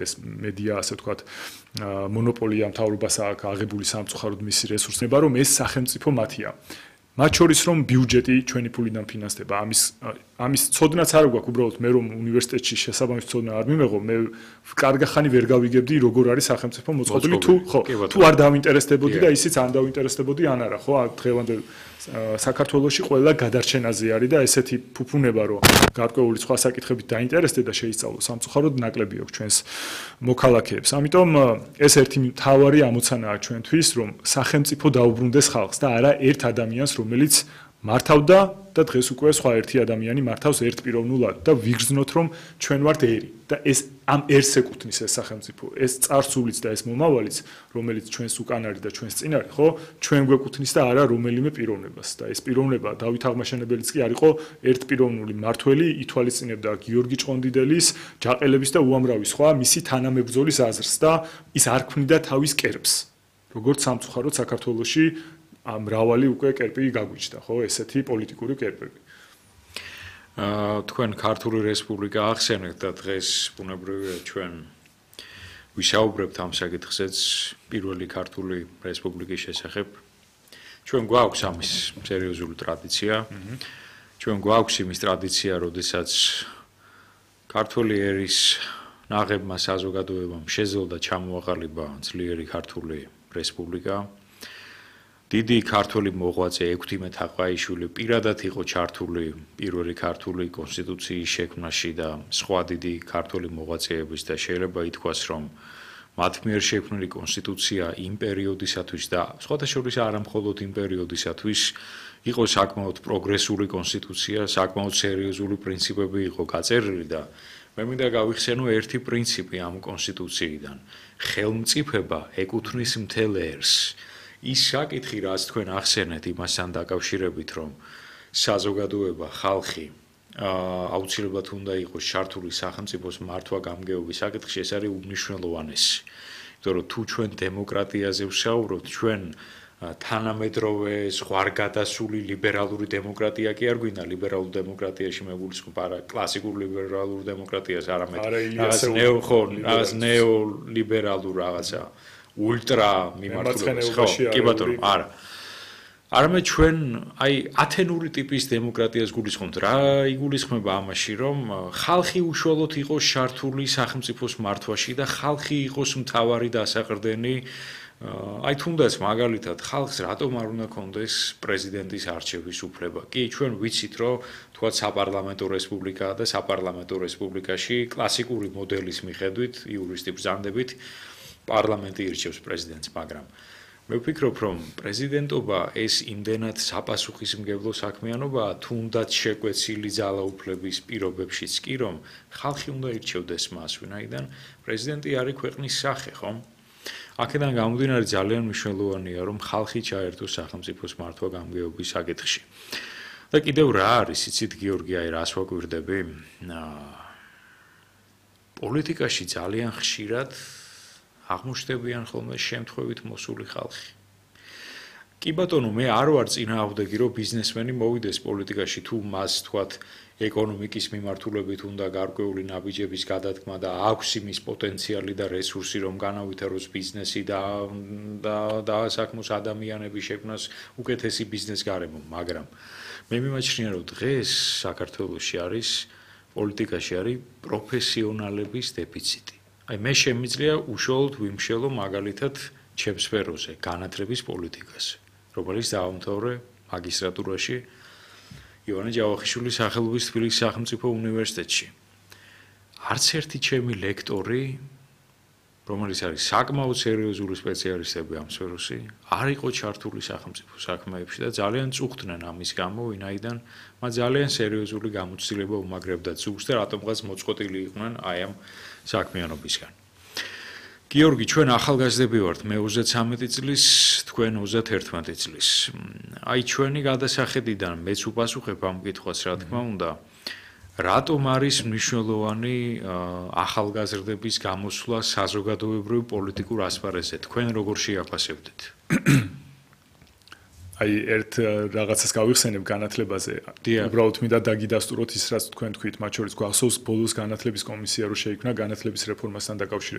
ეს მედია ასე ვთქვათ მონოპოლია მთავრობას აქვს აღებული სამწუხაროდ მისი რესურსება რომ ეს სახელმწიფო მათია მათ შორის რომ ბიუჯეტი ჩვენი ფულიდან ფინანსდება ამის ცოდნაც არ გვაქვს უბრალოდ მე რომ უნივერსიტეტში შესაბამის ცოდნა არ მიმეღო მე კარგახანი ვერ გავიგებდი როგორ არის სახელმწიფო მოწყობილი თუ არ დავინტერესდებოდი და ისიც არ დავინტერესდებოდი ან არა ხო დღევანდელ საქართველოში ყველა გადარჩენაზე არის და ესეთი ფუფუნება რომ გარკვეული სხვა საკითხებით დაინტერესდე და შეისწავლო სამწუხაროდ ნაკლები აქვს ჩვენს მოქალაქეებს ამიტომ ეს ერთი მთავარი ამოცანაა ჩვენთვის რომ სახელმწიფო დაუბრუნდეს ხალხს და არა ერთ ადამიანს რომელიც მართავდა და დღეს უკვე სხვა ერთი ადამიანი მართავს ერთპიროვნულად და ვიგრძნოთ რომ ჩვენ ვართ ერი და ეს ამ ერთს ეკუთვნის ეს სახელმწიფო ეს წარსულიც და ეს მომავალიც რომელიც ჩვენს უკან არის და ჩვენს წინ არის ხო ჩვენ გვეკუთვნის და არა რომელიმე პიროვნებას და ეს პიროვნება დავით აღმაშენებელიც კი არ იყო ერთპიროვნული მართველი ითვალისწინებდა გიორგი ჭყონდიდელის ჯაყელების და უამრავი სხვა მისი თანამებრძოლის აზრს და ის არ ქმნიდა თავის კერპს როგორც სამწუხაროდ საქართველოში მრავალი უკვე კერპი გაგვიჩნდა ხო ესეთი პოლიტიკური კერპები თქვენ ქართული რესპუბლიკა ახსენეთ და დღეს ბუნებრივია ჩვენ ვისაუბრებთ ამ საკითხზეც პირველი ქართული რესპუბლიკის შესახებ ჩვენ გვაქვს ამის სერიოზული ტრადიცია ჩვენ გვაქვს იმის ტრადიცია როდესაც ქართული ერის ნაღებმა საზოგადოებამ შეძლო და ჩამოაყალიბა ძლიერი ქართული რესპუბლიკა დიდი ქართული მოღვაწე ექვთიმე თაყაიშვილი პირადად იყო ჩართული პირველი ქართული კონსტიტუციის შექმნაში და სხვა დიდი ქართული მოღვაწეების და შეიძლება ითქვას რომ მათ მიერ შექმნილი კონსტიტუცია იმ პერიოდისათვის და სხვადასხვა არა მხოლოდ იმ პერიოდისათვის იყო საკმაოდ პროგრესული კონსტიტუცია, საკმაოდ სერიოზული პრინციპები იყო გაწერილი და მე მინდა გავიხსენო ერთი პრინციპი ამ კონსტიტუციიდან. ხელმწიფება ეკუთვნის მთელ ერს. ის საკითხი, რაც თქვენ ახსენეთ იმასთან დაკავშირებით, რომ საზოგადოება, ხალხი აუცილებლად უნდა იყოს ჩართული სახელმწიფოს მართვა-გამგეობის საკითხში, ეს არის უმნიშვნელოვანესი. იმიტომ რომ თუ ჩვენ დემოკრატიაზე ვსაუბრობთ, ჩვენ თანამედროვე ზღვარგადასული ლიბერალური დემოკრატია კი არ გვინდა ლიბერალურ დემოკრატიაში მეგულისხმობ არა კლასიკურ ლიბერალურ დემოკრატიას არამედ რაღაც ნეოლიბერალურ რაღაცა ულტრა მიმართულებას ხო კი ბატონო არა არამედ ჩვენ აი ათენური ტიპის დემოკრატიას გულისხმობთ რა იგულისხმება ამაში რომ ხალხი უშუალოდ იყოს ჩართული სახელმწიფოს მართვაში და ხალხი იყოს მთავარი დასაყრდენი აი თუნდაც მაგალითად ხალხს რატომ არ უნდა კონდეს პრეზიდენტის არჩევის უფლება? კი, ჩვენ ვიცით, რომ თქვათ საპარლამენტო რესპუბლიკაა და საპარლამენტო რესპუბლიკაში კლასიკური მოდელის მიხედვით, იურისტი ბრძანდებით, პარლამენტი ირჩევს პრეზიდენტს, მაგრამ მე ვფიქრობ, რომ პრეზიდენტობა ეს იმდენად საპასუხისმგებლო საქმიანობაა, თუნდაც შეკვეცილი ძალაუფლების პირობებშიც კი, რომ ხალხი უნდა ირჩევდეს მას, ვინაიდან პრეზიდენტი არის ქვეყნის სახე, ხო? აქედან გამომდინარე ძალიან მნიშვნელოვანია რომ ხალხი ჩაერთოს სახელმწიფოს მართვა-გამგეობის საკითხში. და კიდევ რა არის, იცით გიორგი, აი რას ვაკვირდები? პოლიტიკაში ძალიან ხშირად აღმოჩნდებიან ხოლმე შემთხვევით მოსული ხალხი. კი ბატონო, მე არ ვარ წინააღმდეგი რომ ბიზნესმენი მოვიდეს პოლიტიკაში თუ მას თქვათ ეკონომიკის მიმართულებით უნდა გარკვეული ნაბიჯების გადადგმა და აქვს იმის პოტენციალი და რესურსი რომ განავითაროს ბიზნესი და საქმოს ადამიანების შექმნას უკეთესი ბიზნეს გარემო, მაგრამ მე მიმაჩნია რომ დღეს საქართველოში არის პოლიტიკაში არის პროფესიონალების დეფიციტი. აი მე შემიძლია უშუალოდ ვიმშელო მაგალითად ჩემს სფეროზე განათლების პოლიტიკაზე, რომელიც დაამთავრე მაგისტრატურაში ივანე ჯავახიშვილის სახელობის თბილისის სახელმწიფო უნივერსიტეტში. არც ერთი ჩემი ლექტორი, რომელიც არის საკმაოდ სერიოზული სპეციალისტები ამ სფეროში, არ იყო ჩართული სახელმწიფო საქმეებში და ძალიან წუხდნენ ამის გამო, ვინაიდან მათ ძალიან სერიოზული გამოცდილება უმაგრებდა ძუხს და რატომღაც მოწყვეტილი იყვნენ აი ამ საქმიანობისგან. გიორგი, ჩვენ ახალგაზრდები ვართ, მე 33 წლის, თქვენ 31 წლის. აი ჩვენი გადასახედიდან მეც უპასუხებ ამ კითხვას, რა თქმა უნდა, რატომ არის მნიშვნელოვანი ახალგაზრდების გამოსვლა საზოგადოებრივ პოლიტიკურ ასპარეზზე? თქვენ როგორ შეაფასებდით? აი ერთ რაღაცას გავიხსენებ განათლებაზე. დიახ. უბრალოდ მინდა დაგიდასტუროთ ის, რაც თქვენ თქვით, მათ შორის გვახსოვს ბოლოს განათლების კომისია რო შეიქმნა განათლების რეფორმასთან დაკავშირებით.